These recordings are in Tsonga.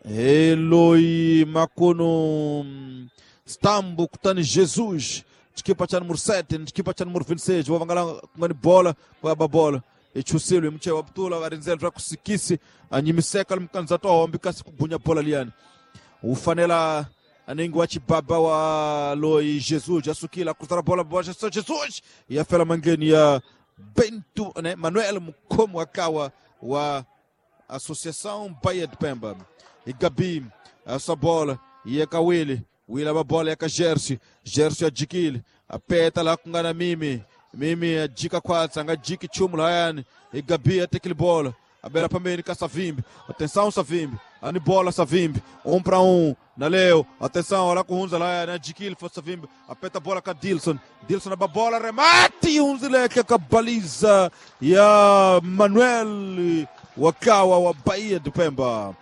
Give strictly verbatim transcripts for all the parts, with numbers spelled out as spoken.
Eloi makono Stambo kutani Jesus chikipa cha número sete chikipa cha número vinte e seis wavangala kungani bola kwaba bola ichusilwe mche wabtula varinzel ra kusikisi anyimiseka limkanza to ambikasi kubunya bola liani ufanela aningi wa chibaba wa loi Jesus asukila kutara bola bola Jesus yafela mangeni ya Bento né Manuel Mukomo akawa wa Associação Baía de Pemba e Gabi essa bola e Kawili Wila ba bola ya Gersi Gersi ajikile apeta la kungana mimi mimi ajika kwatsa nga jiki chumu layani e Gabi atekile bola abela pambeni ka Savimbi atenção Savimbi ani bola Savimbi um para um na Leo atenção olha kuhunza layani ajikile fa Savimbi apeta bola ka Dilson Dilson ba bola remate unzileke ka baliza ya Manuel wakawa wa Baía de Pemba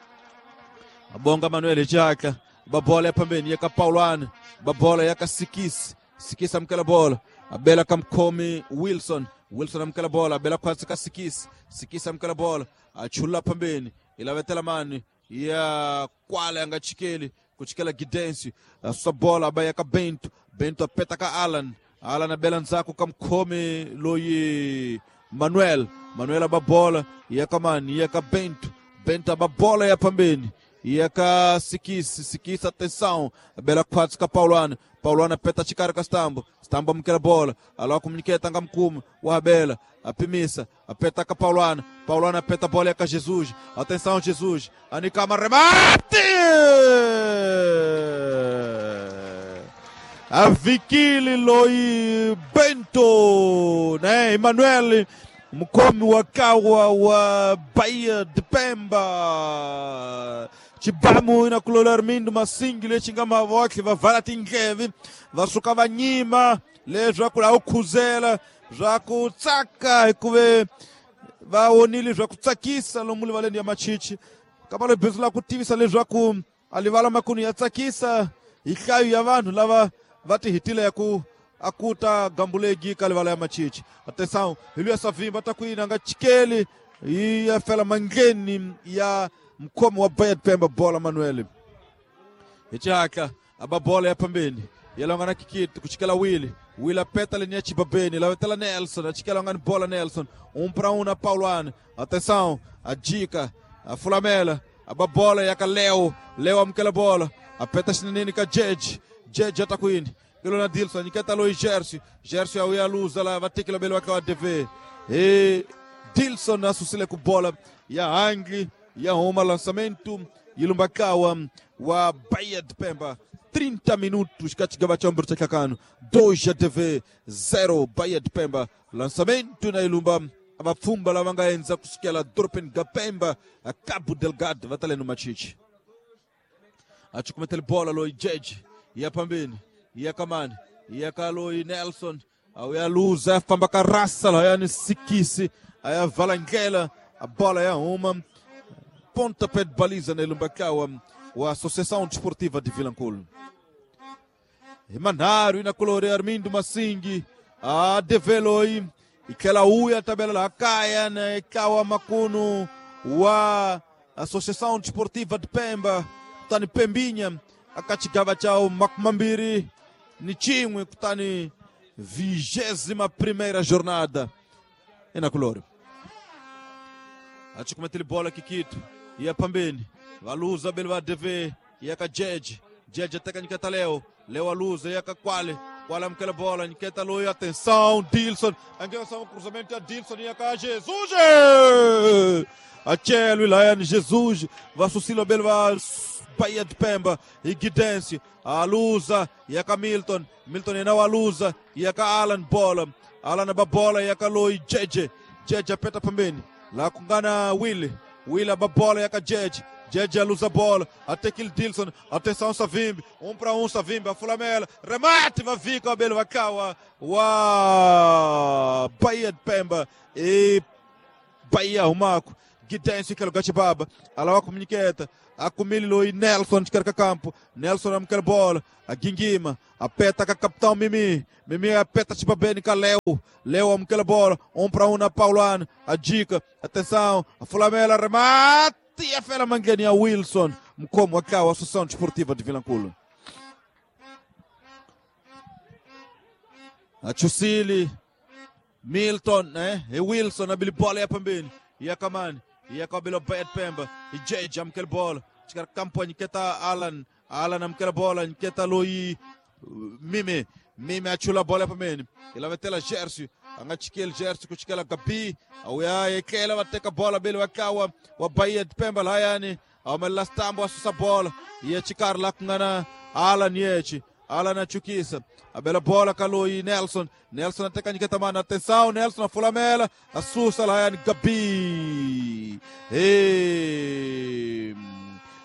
abonga Manuel Jaka babola ya pambeni yaka Paulane babola yaka Sikisi Sikisi amkela bola abela kamkomi Wilson Wilson amkela bola abela kwatsi ka Sikisi Sikisi amkela bola achula pambeni ilavetela mani ya kwale anga chikeli kuchikela Gidensi asa bola abaya ka Bento Bento apeta ka Alan Alan abela nzako kamkomi loyi Manuel Manuel ababola yaka mani yaka Bento Bento ababola ya pambeni yaka Sikisi Sikisi atenção bela quatro ka Paulano Paulano apeta chikara ka Stambo Stambo amkela bola aloa comuniqueta nga mkumu wa Bela apimisa apeta ka Paulano Paulano apeta bola yaka Jesus atenção Jesus anikama remate avikili loi Bento né Emanuel Mkomi wakawa wa Baía de Pemba Chibamu ina kulola Armindo Masingi lechinga mavokli vavala tingevi vasuka vanyima leswi kula ukhuzela zwa kutsaka hikuve vaonile zwa kutsakisa lomu livaleni ya machichi kamalo bindzu la ku tivisa leswaku a livala makunu ya tsakisa hi nhlayo ya vanhu lava va tihitile ya ku akuta gambulegi ka livala ya machichi atenção hi luya Savimbi ta ku yina nga chikeli yi ya fela mangleni ya mkhomi wa Baía de Pemba bola Manuel hi xihatla aba bola ya pambeni ya longana kikiti ku chikela Willy Willy apeta leni ya chibabeni lavetela Nelson a chikela ngani bola Nelson um para um na Paulano atenção a dica a fulamela aba bola ya ka Leo Leo amukela bola apeta xineneni ka Jeje Jeje ata ku yini Kilo na Dilson niketa loi Gersi Gersi auya luza la vatekela belo wa ka D V e Dilson asusile ku bola ya hangi ya huma lançamento ilumbakawa wa Baía de Pemba trinta minutos katika chombo cha kakano dois ya T V zero Baía de Pemba lançamento na ilumba abapfumba lava nga endza kusukela dorobeni ga Pemba a Cabo Delgado va tale no machichi achukumetele bola loi Jeje ya pambeni ya kamani ya kaloi Nelson auya luza famba ka rasa la yani Sikisi aya valangela a bola ya uma pontapé de baliza na Ilumbakawa wa Associação Desportiva de Vilanculo. Manaro ina colore Armindo Masingi a develoi ikela uya tabela la kaya na ikawa makunu wa Associação Desportiva de Pemba kutani Pembinha akachigava chao makumambiri ni chimwe kutani vigésima primeira jornada ina colore achikumetele bola kikito ya pambeni valuza bele va D V yaka Jeje Jeje ateka nyiketa Leo Leo aluza yaka Kwale Kwale amukela bola nyiketa loyo atenção Dilson angeza um cruzamento ya Dilson yaka Jesus achelo ilayani Jesus vasusilo bele va Baía de Pemba e Guidense aluza yaka Milton Milton yena waluza yaka Alan bola Alan ba bola yaka loi Jeje Jeje apeta pambeni la kungana Willy Willy aba bola yaka Jeje Jeje aluza bola atekile Dilson atenção Savimbi um para um Savimbi a fulamela remate vavika abelo vakawa wa Baía de Pemba e Bahia Rumaco Guidense que lugar baba alawa comuniqueta akumili loi Nelson de carca campo Nelson amukela bola a Gingima apeta ka capitão Mimi Mimi apeta chibabeni ka Leo Leo amukela bola um para um na Paulano a dica atenção a fulamela remate e a fela mangeni a Wilson Mkomo wa kawa Associação Desportiva de Vilanculo. Achusili Milton eh e Wilson abili bola ya pembeni ya kamani ya kabilo Bayet Pemba ijeja amkele bola chikar kampo nyiketa Alan Alan amkele bola nyiketa Loi Mime Mime achula bola pembeni ilavetela Gersi angachikele Gersi kuchikela Gabi au ya ekela wateka bola bele wakawa wa Bayet Pemba layani amela stambo asusa bola ye chikar lakungana Alan yechi Alan achukisa abela bola kaloi Nelson Nelson ateka nyiketa mana atenção Nelson afulamela asusa layani Gabi e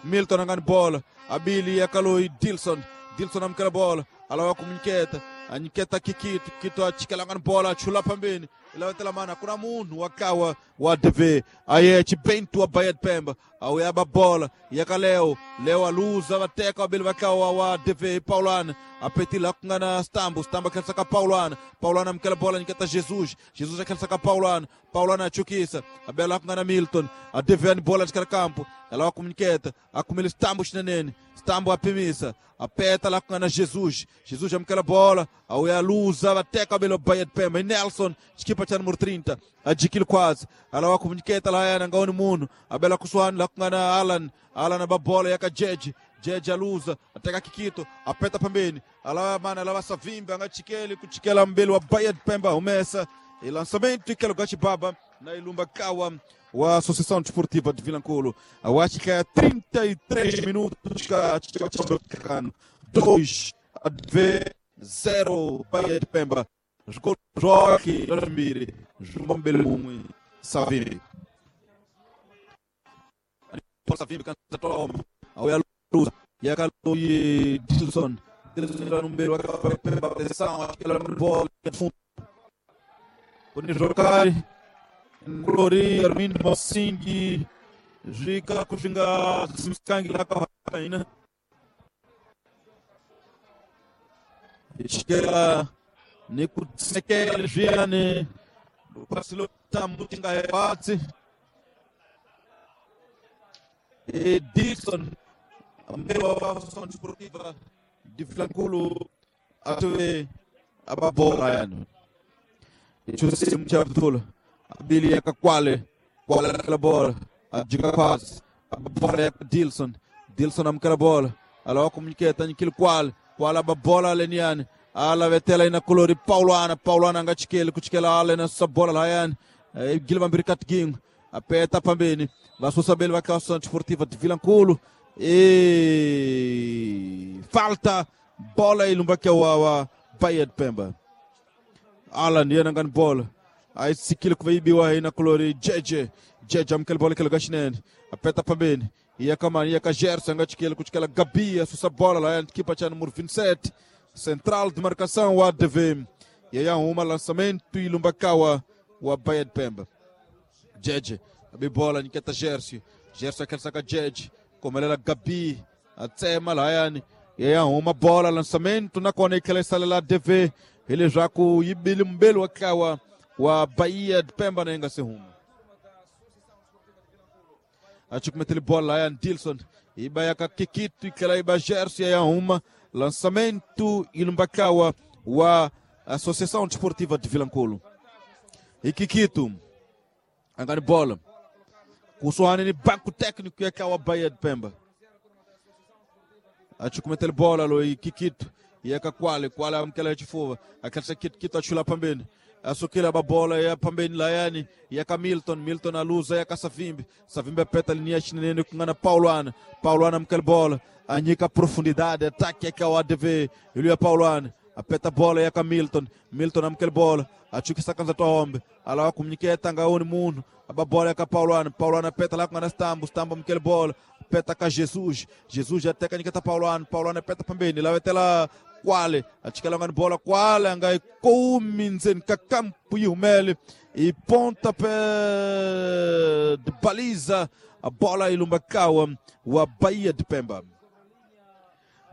Milton angani bola abili ya kaloi Dilson Dilson amkela bola alawa kumnyiketa anyiketa Kikito Kito achikela ngani bola achula pambeni ilawetela mana kuna munhu wakawa wa D V aye chibento wa Bayet Pemba au yaba bola yakaleo leo aluza wateka wabili wakawa wa D V Paulana apetila kungana Stambo Stambo akhelsa ka Paulana Paulana amkela bola nyiketa Jesus Jesus akhelsa ka Paulana Paulana achukisa abela kungana Milton a D V ani bola chikala campo ela kumnyiketa akumile Stambo chinenene Stambo apimisa apeta lá kungana Jesus Jesus amkela bola au yaluza wateka wabili wa Bayet Pemba Nelson chikipa cha número trinta adikilo quase ala wakumnyiketa la yana ngaoni munhu abela kuswani la kungana Alan Alan ababola yaka Jeje Jeje aluza ateka Kikito apeta pembeni ala mana ala Savimbi angachikeli kuchikela mbele wa Bayet Pemba umesa e lançamento ikelo gachibaba na ilumba kawa wa Associação Desportiva de Vilanculo acho que é trinta e três minutos dois a zero Bayet Pemba jogou Joque Miri João Belumwe Savimbi Savimbi canta toma ao Luz e a Caloi Dilson Dilson no meio a Pemba atenção aquela bola fundo Boni Jocari Glori Armindo Mossing Jica Kuxinga Simskangi lá com a Raina Esquela Nikutsekele Viane Pasilo Tamutinga Epatsi e Dixon a Associação Desportiva de Vilanculo atue ababola yani José Mchabdula Abili yaka Kwale Kwale aquela bola a diga quase a bola é Dilson Dilson amkela bola ala comuniceta nikil Kwale Kwale a bola leniane ala vetela ina colori Paulana Paulana angachikele kuchikela ala na sa bola layani Gilvan Birikat Ging apeta pambeni vasusabeli va Associação Desportiva de Vilanculo e falta bola ilumba ke wa Bayet Pemba Alan yena ngani bola aí sikile kuibiwa ina colori Jeje Jeje amkele bola kele gashinene apeta pambeni iya kamani iya ka Gerson angachikele kuchikela Gabi asusa bola layani kipa cha número vinte e sete central de marcação o A D V e aí uma lançamento e Lumbakawa o Bayet Pemba Jeje a bola niketa Gerson Gerson aquele saca Jeje como ela Gabi até malayani e aí uma bola lançamento na kona ikele sala D V ele já com ibili mbelo akawa wa Bahia de Pemba nenga se rumo acho que meteu bola lá Dilson iba ka Kikito ikela iba Gerson e aí uma lançamento e Lumbakawa wa Associação Desportiva de Vilanculo e Kikito angani bola kusoane ni banco técnico e akawa Bahia de Pemba acho que meteu bola lo e Kikito e aka Kwale Kwale amkela chifuva akatsa Kikito achula pambeni asukila babola ya pambeni layani ya ka Milton Milton aluza ya ka Savimbi Savimbi apeta linha chinene kungana Paulana Paulana amkela bola anyika profundidade ataque ya o A D V ele ya Paulana apeta bola ya ka Milton Milton amkela bola achukisa kanza tohombe ala kumnyiketa ngaoni munhu ababola ya ka Paulana Paulana apeta lá kungana Stambo Stambo amkela bola apeta ka Jesus Jesus ateka nyiketa Paulana Paulana apeta pambeni la vetela Kwale achikela ngani bola Kwale ngai kuminzen ka campo yumele e pontapé de baliza a bola ilumbakawa wa Bahia de Pemba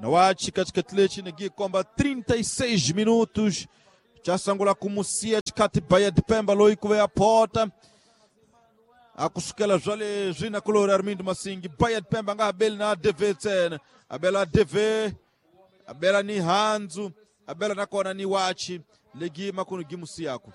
na wachi katika tlechi nigi komba trinta e seis minutos chasangula kumusia chikati Bahia de Pemba loikuve a porta Akusukela swa leswi na kulori Armindo Masingi Bahia de Pemba nga abeli na A D V ntsena, abela A D V, abela ni handzu, abela nakona ni wachi legi makunu gimusi yako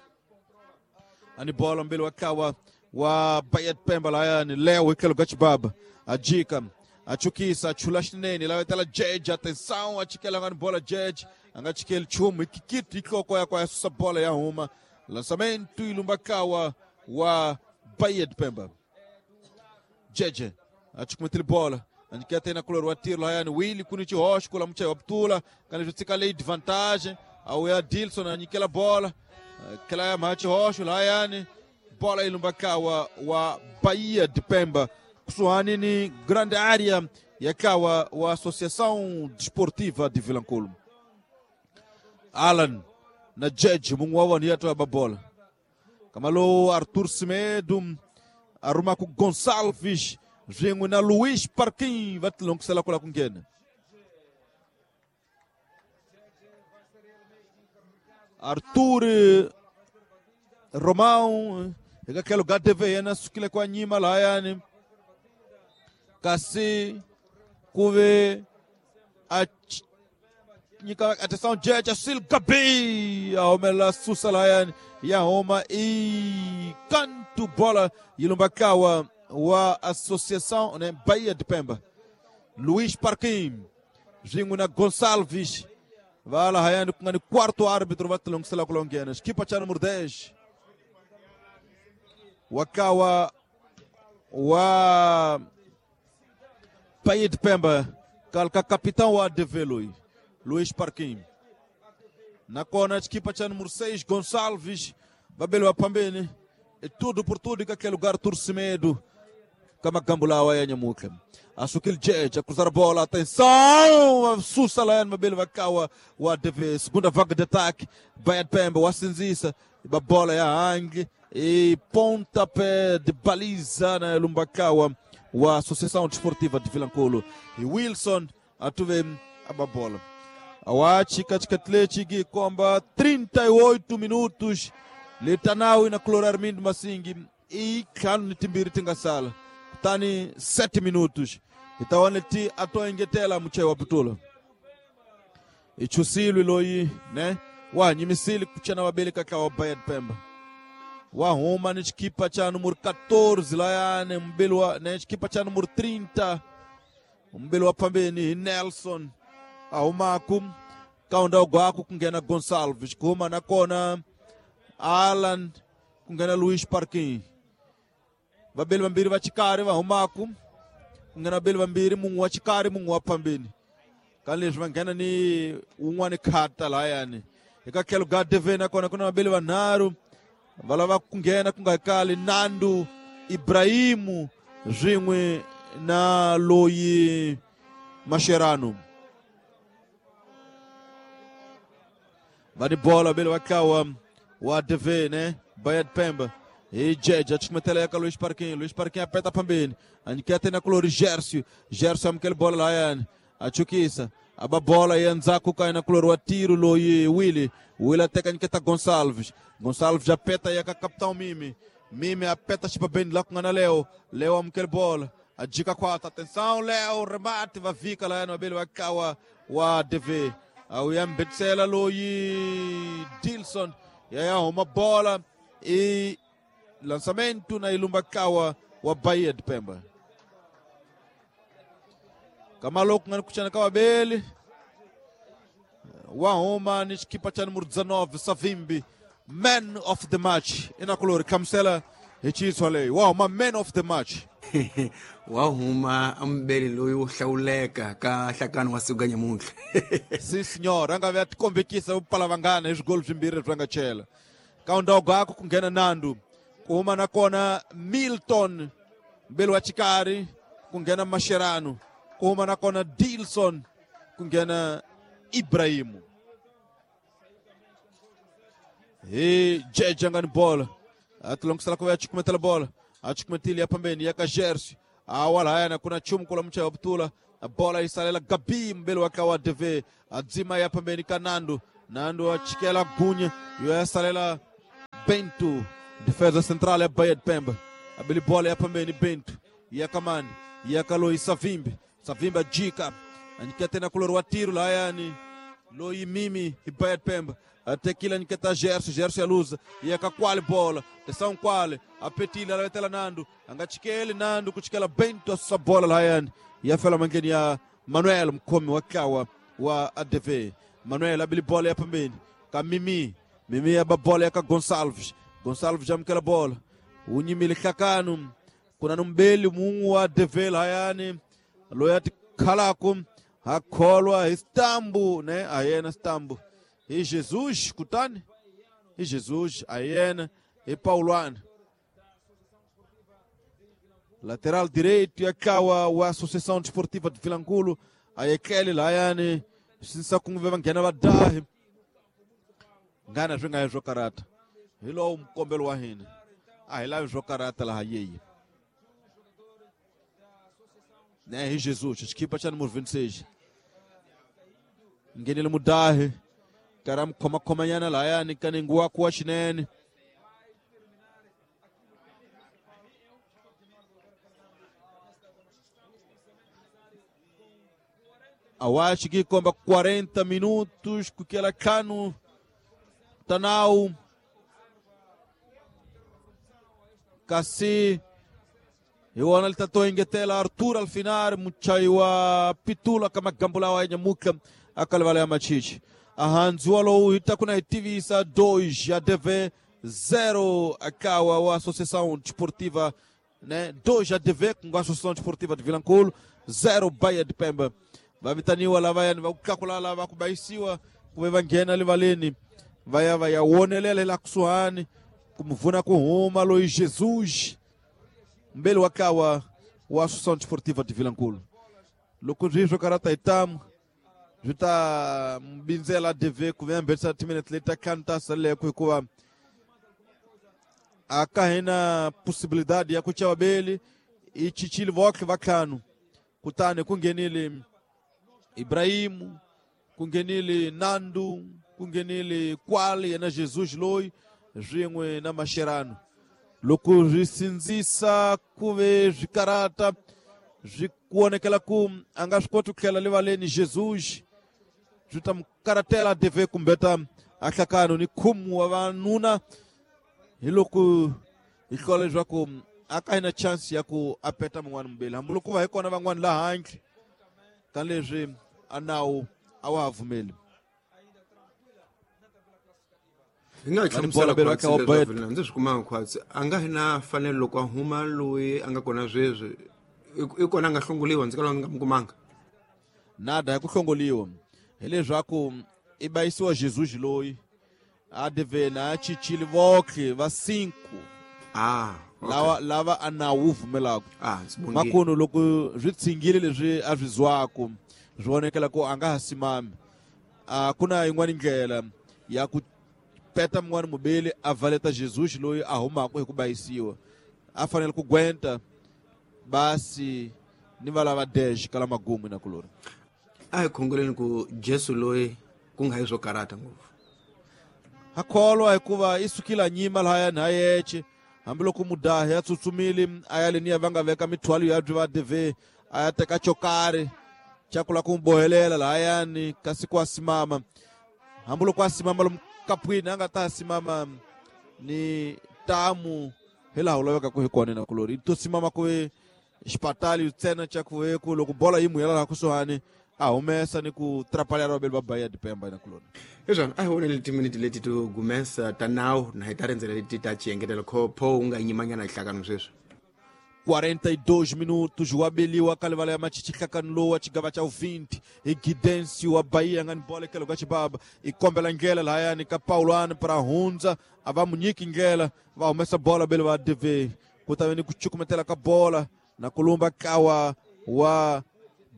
ani bola mbele wakawa wa Bahia de Pemba layani Leo ikelo gachibaba ajika achukisa achula xinene lawa tala jeje, atenção, achikela ngani bola jeje angachikeli chumu ikikiti ikoko yakwa yasusa bola ya huma lançamento ilumbakawa wa Bahia de Pemba. Jeje achikumetele bola anjiketa ina kulor wa tiro layani Willy kuni chihoxo kula muchai wa putula kana zvitsika lei vantagem au ya Dilson anyikela bola kela ya machihoxo layani bola ilumbakawa wa Bahia de Pemba kusuhani ni grande área yakawa wa Associação Desportiva de Vilanculo. Alan na Jeje mungu wa ni yato ya babola kamalo Arthur Semedo aruma ku Gonçalves swin'we na Luiz Parquin va tilongisela kula ku nghena Arthur Romão eka tlhelo ka T V yena sukile kwa nyima lahayani kasi ku ve a nyika atenção Jeje Sil Gabi a humelela susa lahayani ya huma i kantu bola yi lumbakawa wa Associação, né, Bahia de Pemba. Luiz Parquim swin'we na Gonçalves va lahayani ku nga ni quarto árbitro va tilongisela ku longhena xikipa xa número dez wakawa wa Bahia de Pemba kalka capitão wa A D V loyi Luiz Parquim nakona xikipa xa número seis Gonçalves vabeli va phambeni e tudo por tudo eka tlhelo ka Arthur Semedo kamagambu lawa ya nyamutlha a sukile Jeje a cruzar a bola, atenção, susa layani mabeli vakawa wa A D V, segunda vaga de ataque Bahia de Pemba wa sinzisa ba bola ya hangi e pontapé de baliza na lumbakawa wa Associação Desportiva de Vilanculo e Wilson atuve a bola awachi katika Atlético komba trinta e oito minutos litanawi na Cloro Armindo Masingi e ntlhanu ni timbirhi ti nga sala kutani sete minutos itawane ti atoengetela muchai wa putula ichusilwi loyi ne wa nyimisili kuchana vabeli kaka wa Bahia de Pemba wa huma ni xikipa cha número catorze layani mbeli wa ne xikipa cha número trinta mbeli wa phambeni hi Nelson a humaku kaunda gwaku ku nghena Gonçalves ku huma nakona Alan ku nghena Luiz Parquin vabeli vambirhi va xikarhi va humaku ku nghena vabeli vambirhi mun'we wa xikarhi mun'we wa phambeni ka leswi va nghena ni wun'wani khata lahayani eka tlhelo ka D V nakona ku na vabeli vanharhu va lava ku nghena ku nga kali Nando Ibrahimu swin'we na loyi Mascherano va ni bola vabeli va tlawa wa D V ne Bahia de Pemba e Jeje achikimetela yaka Luiz Parquinho, Luiz Parquinho apeta phambeni anyiketa na kulori Gercio, Gercio amukela bola lahayani achukisa aba bola ya ndzhaku ka na kulori wa tiro loyi Willy, Willy ateka nyiketa Gonçalves, Gonçalves apeta yaka capitão Mimi, Mimi apeta xipabeni la ku nga na Leo, Leo amukela bola ajika kwata, atenção Leo remate va vika lahayani vabeli va kawa wa D V au ya mbetsela loyi Dilson ya ya huma bola e lançamento na ilumbakawa wa Bahia de Pemba kamaloku ngani kuchana kawabeli wa huma ni xikipa cha número dezenove Savimbi, man of the match inakulori kamsela hi chitswa leyi wa huma man of the match. Wa huma mbeli loyi wo hlawuleka ka nhlakano wa siku ka nyamuntlha. Si senhor, a nga ve a tikombekisa vupala vangana hi swigolo swimbirhi leswi va nga chela kaunda gwako ku nghena Nando ku huma nakona Milton mbeli wa xikarhi ku nghena Mascherano ku huma nakona Dilson ku nghena Ibrahimu hi Jeje nga ni bola a tilongisela ku va chikumetela bola a chikumetile ya phambeni ya ka Gersi awa lahayana kuna chumu kula muchai wa putula bola isalela Gabi mbele wa kawa D V adzima ya phambeni ka Nando, Nando achikela Gunya yo yasalela Bento defesa central ya Bahia de Pemba. Abili bola ya pambeni Bento ya kamani ya kaloi Savimbi. Savimbi ajika anyika tena kulori wa tiro layani loyi mimi Ibayat Pemba atekila nyiketa Gerson. Gerson yaluza yakakwale bola tesão kwale apetile alavetela Nando angachikele Nando kuchikela Bento asusa bola layani yafela mangeni ya Manuel mkomi wa kawa wa A D V. Manuel abili bola ya pambeni ka Mimi. Mimi yaba bola yaka Gonçalves. Gonçalves jamkela bola unyimile hlakanu kuna nombeli mungu wa A D V layani loyati khalako akholwa istambu ne ayena stambu e Jesus kutani e Jesus ayena e Pauluano lateral direito e akawa wa Associação Desportiva de Vilanculo ayekele layani sinsa kunve vangena vadahi ngana swi nga swo karata hi lowu mkombelo wa hina a hi lavi swo karata laha yeyi ne hi Jesus xikipa xa número vinte e seis ngenile mudahi kara mukhomakhomanyana lahayani kaningu wa kuwa xinene awachi kikomba quarenta minutos kukela kanu tanau kasi iwana litatoingetela Arthur Alfinar muchai wa pitula kama gambula wa nyamuka akalivala ya machichi ahanzua lowu itakuna itivisa dois A D V zero akawa wa Associação Desportiva né dois A D V com a Associação Desportiva de Vilanculo zero Baía de Pemba vavitaniwa lavayani vakukakulala vakubaisiwa kuve vanghena livaleni vaya vaya wonelela la kusuhani kumvuna kuhuma loyi Jesus mbele wakawa wa Associação Desportiva de Vilanculo loko swi karata itamu swi ta mbindzela A D V ku ve mbetsa timinete leti ta ntlhanu ta saleko hikuva a ka hina possibilidade ya ku chava beli i chichile votlhe va ntlhanu kutani ku nghenile Ibrahimu ku nghenile Nando ku nghenile Kwale yena Jesus loyi swin'we na Mascherano loko swi sindzisa ku ve swi karata swi kuonekela ku a nga swi koti ku tlhela livaleni Jesus swi ta mu karatela A D V kumbeta a hlakano ni khumu wa vanuna hi loko hi hlola leswaku a ka hina chance ya ku a peta mun'wana mubeli hambiloko va hi kona van'wana laha handle ka leswi a nawu a wa ha pfumeli hi nga hlamusela khwatsi ndzi swi kumanga khwatsi a nga hi na fanelo loko a huma loyi a nga kona sweswi i kona a nga hlongoliwa ndzi kala ndzi nga mu kumanga nada ya ku hlongoliwa hileswaku i bayisiwa Jesus loyi A D V na chichile votlhe va cinco ah okay. lava lava a nawu wu pfumelaka ah makunu loko swi tshingile leswi a swi zwaku swi vonekela ku a nga ha simami a ku na yin'wana ndlela ya ku peta mun'wana mubeli a valeta Jesus loyi a humaka hi ku bayisiwa a fanele ku gwenta basi ni va lava dash kala magumu na kulori a hi khongeleni ku Jesu loyi ku nga hi swo karata ngopfu akholwa hikuva i sukile a nyima lahayani ha yexe hambiloko mudahi a tsutsumile a ya leniya va nga veka mithwalo ya byi va D V a ya teka xo karhi xa ku lava ku n'wi bohelela lahayani kasi ku a simama hambiloko a simama lomu kapwini a nga ta simama ni tamu hi laha u lavekaka hi kona na kulori i to simama ku xipatali ntsena xa ku ku loko bola yi muyela laha kusuhani a humesa ni ku trapalha vabeli va Bahia de Pemba na kuloni hiswona a hi vonele timiniti leti to gumesa ta nawu na hi ta rindzela leti ta xiengetelo pho u nga nyimanyana hlakano sweswi quarenta e dois minutos wabeliwa kalivala ya machichi hlakano lowu wa xigava xa vinte hi Gidensi wa Bahia nga ni bola ekelo ka xibaba i kombela ndlela lahayani ka Paulano para hundza a va mu nyiki ndlela va humesa bola beli va D V ku ta ve ni ku cukumetela ka bola na kulumba kawa wa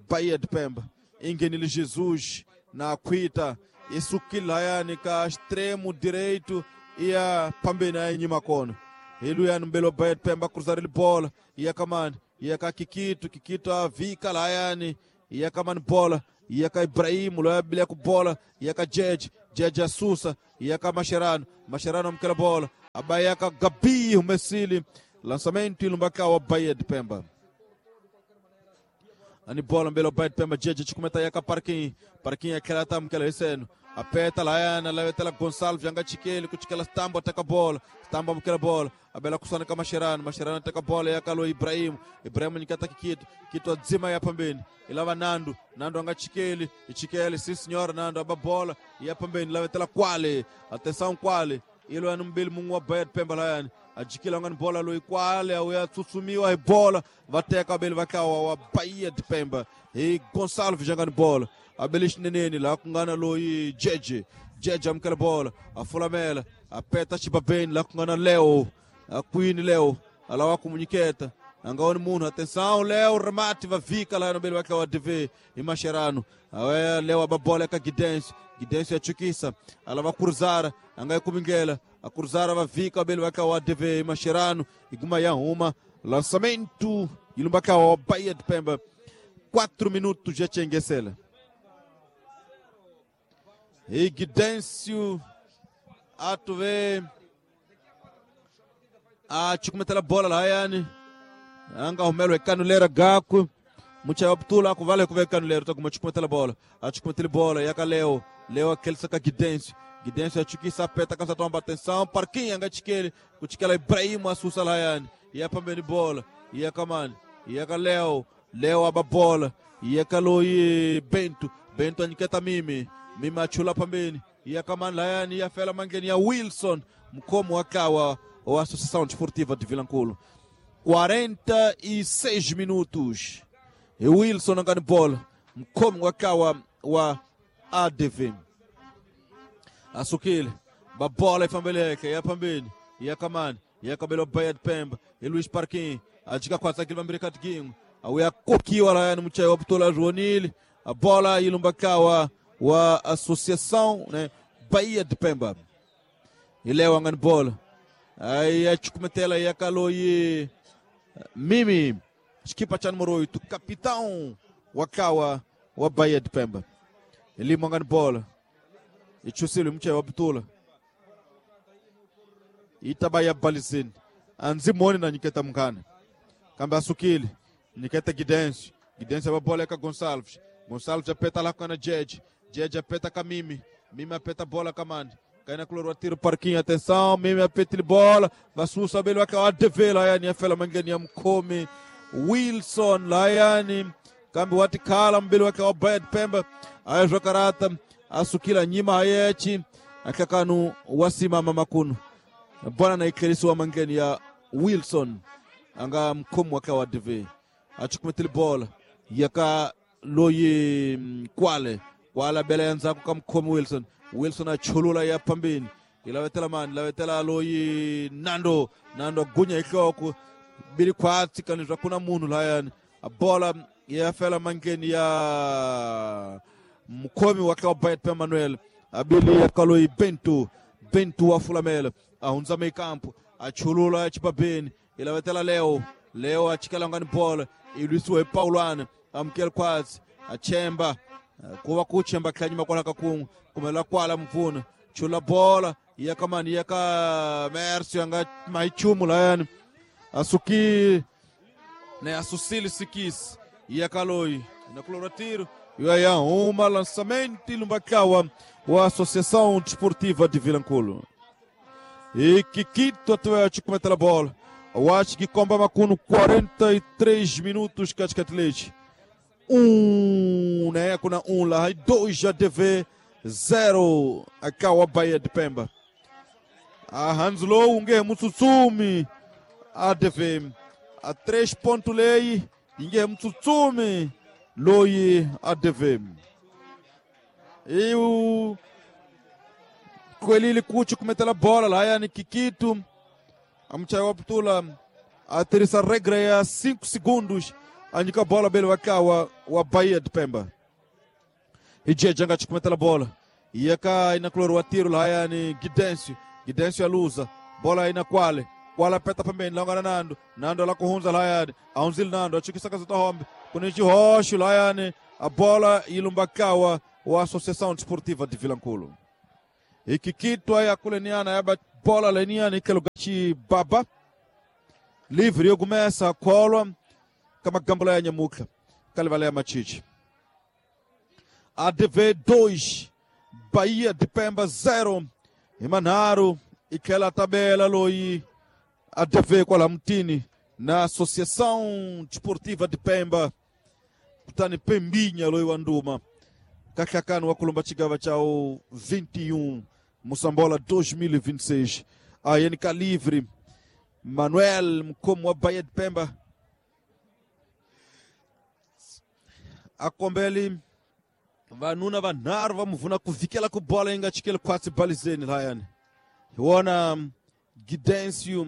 Bahia de Pemba i nghenile Jesus na khwita i sukile lahayani ka extremo direito i ya phambeni a yi nyima kona hi luyani mbeli wa Bahia de Pemba kruzarile bola iya kamani iya ka Kikito Kikito a vika lahayani iya kamani bola iya ka Ibrahimu loyi a bilaka bola iya ka Jeje Jeje asusa iya ka Mascherano Mascherano amukela bola a ba iya ka Gabi humesile Lançamento ilumbaka wa Bahia de Pemba. Ani bola mbele Bahia de Pemba jeje chikumeta yaka parking. Parking akela tam kela receno. Apeta la yana lavetela Gonçalves anga chikeli kuchikela Stambo ataka bola. Stambo amukela bola. Abela kusana kama Mascherano, Mascherano ataka bola yakalo Ibrahim. Ibrahim nikata kikito, kito adzima ya pambeni. Ilava Nando, Nando anga chikeli, ichikeli sim senhora Nando aba bola ya pambeni lavetela Kwale. Atenção Kwale. Ilo anu mbili mungu wa Bahia de Pemba la yana. Ajikila ngani bola lo Kwale au ya tsutsumiwa bola vateka abele vakawa wa Bahia de Pemba. E Gonçalves jangani bola. Abele xineneni la kungana lo Jeje. Jeje amkela bola, afulamela, apeta chibabeni la kungana Leo. A Queen Leo, alawa kumunyiketa. Angaoni munhu, atenção Leo, remate vavika la no bele vakawa D V e Mascherano. Awe Leo ababola ka Gidense, Gidense achukisa, alava cruzar, angai kumingela, a cruzar vavika bele vakawa D V e Mascherano, iguma ya uma, lançamento ilumbaka wa Bahia de Pemba. quatro minutos já chengesela. E Gidêncio atuve a chikumetela bola la yani anga humelo ekanulera gaku mucha optula kuvale kuve kanulera to kuma chikumetela bola a chikumetela bola yaka Leo Leo aquele saca Gidêncio Gidêncio achukisa peta kansa tomba atenção parquinho anga chikele kuchikela Ibrahim asusa la yani ya pambeni bola ya kamani yaka Leo Leo aba bola yaka Loi Bento Bento anyiketa mimi Mima chula pambeni ya kamani layani ya fela mangeni ya Wilson mkomo wakawa wa Associação Desportiva de Vilankulo. quarenta e seis minutos. E Wilson angani bola mkomo wakawa wa A D V. Asukile babola ifambeleke ya pambeni ya kamani ya kabelo Bahia de Pemba e Luiz Parquinho ajika kwa sakile bambiri katgingo awuya kokiwa layani mchayo wa Joanile a bola ilumbakawa wa Associação, né, Bahia de Pemba. E Leo angani bola. Aí a chukumetela ya kaloi Mimi, equipa cha número oito, capitão wakawa wa Bahia de Pemba. Ele angani bola. E chusilo mche wa Butula. Itabaya balizini. Anzimoni na nyiketa mkana. Kamba asukili, nyiketa Gidense. Gidense wa bola ka Gonçalves. Gonçalves apeta lá com a Jeje. Jeje apeta com a Mimi. Mimi apeta bola com a Mandi. Cai na cloro tiro parquinho. Atenção. Mimi apeta bola. Vassusa belo aqui. A D V lá yani. Afela mangani mkome. Wilson lá yani. Kambi watikala mbele wake wa Bahia de Pemba. Ayo karata. Asukila nyima hayechi. Akakanu wasimama makunu. Bwana na ikelisi wa mangani ya Wilson. Anga mkomo wake wa D V. Achukumetili bola. Yaka Loyi Kwale Kwale bele yanza kukamkomo Wilson Wilson achulula ya pambeni ilawetela man ilawetela Loyi Nando Nando gunya ikoko bili kwatsi kanizwa kuna munhu layani a bola ya fela mangeni ya mkomi wake wa Bahia de Manuel abili ya Kaloyi Bento Bento wa Fulamela ahunza mekampo achulula ya chipabeni ilawetela Leo Leo achikala ngani bola ilusiwe Paulana amkel kwatsi achemba kuwa kuchemba kanyima kwala kakungu kumela kwala mvuna chula bola yakamani yaka Merci anga maichumu layani asuki ne asusili sikis yakaloi na cloratiro ya uma lançamento lumbakawa wa Associação Desportiva de Vilankulo. E Kikito atuete cometa a bola. Eu acho que comba macuno quarenta e três minutos katikati. Um, né? Kuna um lá, dois A D V, zero akawa Bahia de Pemba. A Hanslow unge mutsutsumi A D V. A três ponto lei, inge mutsutsumi loi A D V. E o Coelho Cuti cometeu a bola lá, yani Kikito. A mchayo Ptula a terceira regra é cinco segundos. A nika bola bele wakawa wa Bahia de Pemba. E Jeje anga chikumetela bola. Yeka inakloro wa tiro la yani Gidencio. Gidencio aluza. Bola ina Kwale. Kwale apeta pembeni longa na Nando. Nando la kuhunza la yani. Aunzil Nando achikisa kaza hombe. Kunichi hoshu la yani. A bola ilumbakawa wa Associação Desportiva de Vilankulo. E Kikito aí akuleniana yaba bola leniana ikelugachi baba. Livre yo kumesa kholwa ka magambula ya nyamutlha ka livala ya Machichi. A D V dois Bahia de Pemba zero hi manharhu i tlhela tabela loyi A D V kwala mutini na Associação Desportiva de Pemba kutani Pembinha loyi wa nduma ka nhlakano wa kulumba xigava xa vinte e um Moçambola dois mil e vinte e seis. A N K Livre Manuel mukhomi wa Bahia de Pemba a kombeli vanuna vanharhu va muvuna ku vikela ku bola yi nga chikeli khwatsi balizeni lahayani hi wona Gidencio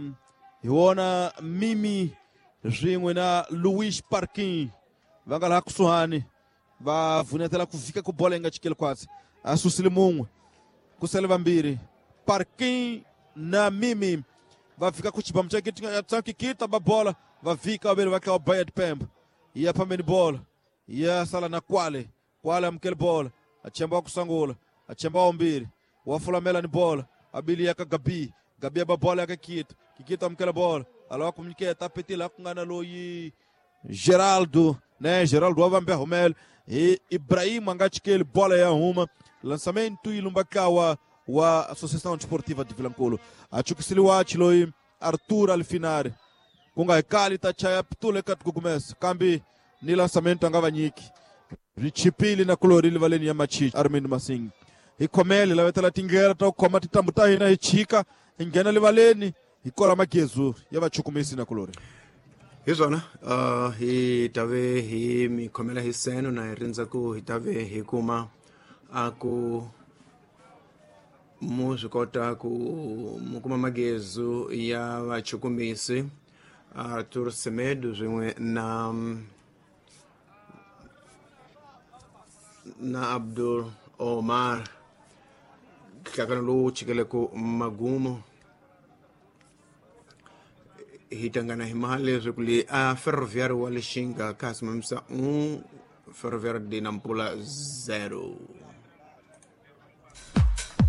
hi wona Mimi swin'we na Luis Parkin va nga laha kusuhani va vunetela ku vika ku bola yi nga chikeli khwatsi a susile mun'we ku sele vambirhi Parkin na Mimi va fika ku xibamu xa kikita va bola va vika vaveri va tlawa Bahia de Pemba yi ya phambeni bola ya sala na Kwale Kwale amukeli bola achemba wa kusangula achemba wa mbirhi wa fulamela ni bola abili ya ka Gabi Gabi ya ba bola ya ka Kikita Kikita amukela bola alawa ku nyiketa petila ku nga na loyi Geraldo né Geraldo wa vambe humela hi Ibrahim a nga chikeli bola ya huma lançamento yi lumba kawa wa Associação Desportiva de Vilankulo a chukisile wachi loyi Arthur Alfinari ku nga hi kali ta chaya pitula eka tikugumesa kambe ni lançamento a nga va nyiki ri chipile na kulori livaleni ya Machichi Armindo Masing hi khomele lavetela tindlela ta ku khoma tintambu ta hina hi chika hi nghena livaleni hi kola magezu ya vachukumisi na kulori hi swona uh, hi tave hi mi khomela hi seno na hi rindza ku hi tave hi kuma a ku mu swi kota ku mu kuma magezu ya vachukumisi Arthur Semedo swin'we na na Abdul Omar nhlakano lowu chikeleko magumo hi tangana hi mali leswaku le a Ferroviário wa Lixinga ka ha simamisa un Ferroviário de Nampula zero.